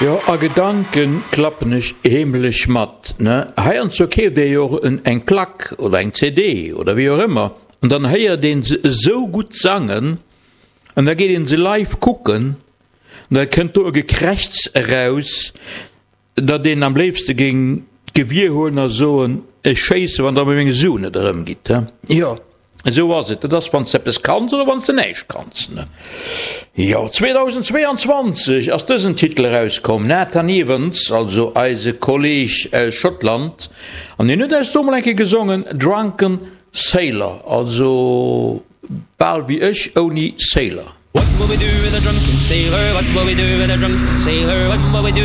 Jo, a Gedanken klappen ech heemlech mat, ne? Heiansdo keeft ee jo och eng Plack oder eng CD oder wéi och ëmmer an dann héiert een se esou gutt sangen an da geet een se live kucken an da kënnt do e Gekrächz eraus, datt een am léifste géing d'Gewier huelen a soen, ech schéisse wann der mer meng Suen net erëmgitt. Jo, esou ass et, dat ass wann s de eppes kanns oder wann s de näischt kanns. Jo, 2022 ass dësen Titel erauskomm, Nathan Evans, also eise Kolleeg aus Schottland, an hien huet eis do mol eng Kéier gesongen, Drunken Sailor, also bal wéi ech ouni Sailor. What will we do with a drunken sailor? What will we do with a drunken sailor? What will we do?